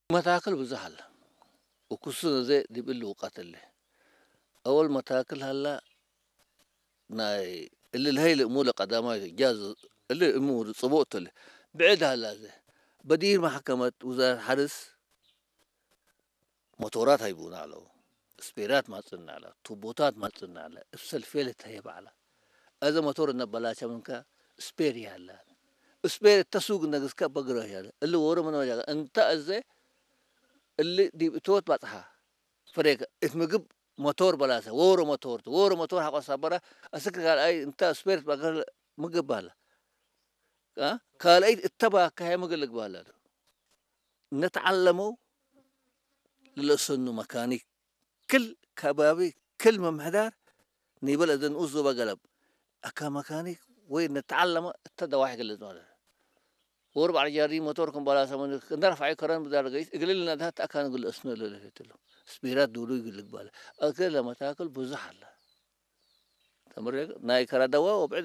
መታክል ብዙሕ ኣለ። ወኩሱ ዘ ዲብ እሉ ውቃት እለ። ኣወል መታክል ሃላ ናይ እሊ ለሀይል እሙ ለቀዳማይ ጃዝ እሊ እሙ ጽቡቅ እለ። ብዕድ ሃላ ዘ በዲር ማሕከመት ውዛር ሓርስ ሞቶራት ሃይቡና ኣለዉ። ስፔራት ማጽና ኣላ፣ ቱቦታት ማጽና ኣላ፣ እብ ሰልፌ ልትሀየ ባዕላ። እዘ ሞቶር እነበላቸ ምንከ ስፔር ያለ። ስፔር እተሱግ ነግስከ በግረ ያለ። እሊ ወሮ ምን ወጃ እንተ እዘ እሊ ዲብ እቶት ባጽሓ። ፍሬከ እት ምግብ ሞቶር በላሰ፣ ወሮ ሞቶር፣ ወሮ ሞቶር ሓቆሳ በራ፣ እስክ ካልኣይ እንተ ስፔር ባገር ምግብ ባላ። አ? ካልኣይ እተባካየ ምግብ ልግባላ። ነተዓለመው ልለሰኑ መካኒክ ክል ከባቢ ክል ምምሕዳር ንይበል እዘ ንኡስ ዞባ ገለብ ኣካ መካኒክ ወይ ነተዓለመ እተ ደዋሕ ይገልጽ ማለት ወር ባዕል ጃሪ ሞቶር ከም ባላ ሰመን እንደረፋዒ ከረን ብዛር ገይስ እግልል ነዳት ኣካ ንግል እስነ ለለትሉ ስቢራት ዱሉ ይግልግ ባለ ኣከ ለመታክል ብዙሕ ኣለ ተምር ናይ ከራደዋ ወብዕድ